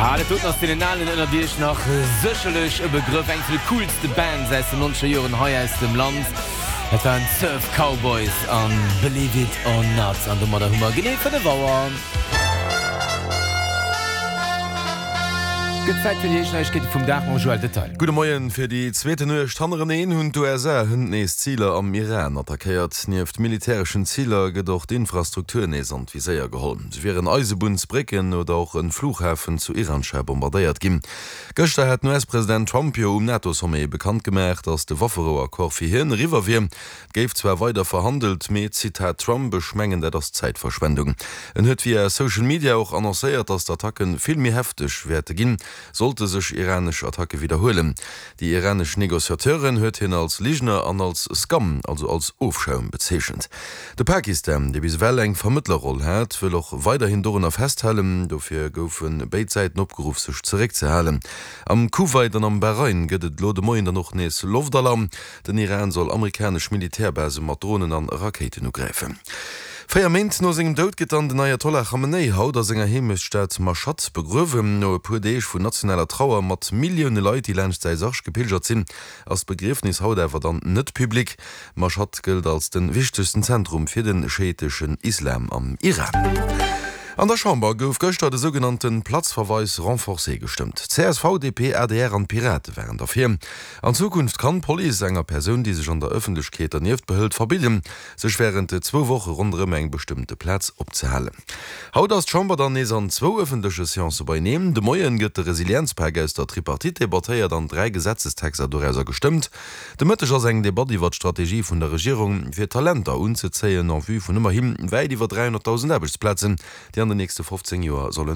Ja, dat doten ass deenen Alen ënnert iech nach sécherlech e Begrëff. Eng vun de coolste Bands aus den nonzeger Joren hei aus dem Land. Dat waren d'Surf Cowboys an Believe It or Not. An domadder hu mer genee 5 Auer. Gëtt Zäit fir déi éischt Neiegkeete vum Dag mam Joël Detail. Gudde Moien. Fir déi zweeten Nuecht hannereneen hunn d'USA hënt nees Ziler am Iran attackéiert. Nieft militäreschen Ziler gëtt och d'Infrastruktur nees an d'Viséier geholl. Sou wieren Eisebunnsbrécken oder och e Flughafen zu Iranshahr bombardéiert ginn. Gëschter hat den US-President Trump jo um NATO-Sommet bekannt gemaach, datt de Wafferou-Accord fir hien eriwwer wier. Et géif zwar weider verhandelt, mee, Zitat Trump, Ech mengen, dat ass Zäitverschwendung. En huet via Social Media och annoncéiert, datt d'Attacke vill méi hefteg wäerte ginn, sollte sech iranesch Attacke widderhuelen. Déi iranesch Negociateuren huet hien als Ligner an als Scum, also als Ofschaum bezeechent. De Pakistan, dee bis ewell eng Vermëttlerroll hat, wëll och weiderhin dorunner festhalen. Dofir goufe béid Säiten opgeruff, sech zeréckzehalen. Am Kuwait an am Bahrain gëtt et elo de Moien dann och nees Loftalarm. Den Iran soll amerikanesch Militärbase mat Dronen an Rakéiten ugräifen. 4 Méint no sengem Doud gëtt dann den Ayatollah Khamenei haut a senger Heemechtsstad Mashhad begruewen. No e puer Deeg vun nationaler Trauer mat Millioune Leit, déi laanscht säi Sarg gepilgert sinn, ass d'Begriefnis haut awer dann net public. Mashhad gëllt als de wichtegsten Zentrum fir de schiiteschen Islam am Iran. An der Chamber gouf gëschter de sougenannte Platzverweis renforcé gestëmmt. Csv, DP, adr an d'Pirate waren derfir. An Zukunft kann d'Police enger Persoun, déi sech an der Ëffentlechkeet dernieft behëlt, verbidden, sech wärend zwou Woche ronderëm eng bestëmmte Plaz opzehalen. Haut ass d'Chamber dann nees an zwou ëffentleche Seancë beieneen. De Moien gëtt de Resilienzpak aus der Tripartite debattéiert an 3 Gesetzestexter dorauser gestëmmt. De Mëtteg ass eng Debatt iwwer d'Strategie vun der Regierung, fir Talenter unzezéien en vue vun ëmmerhi wäit iwwer 300.000 Aarbechtsplazen, déi an den nächste 15 Joer solle.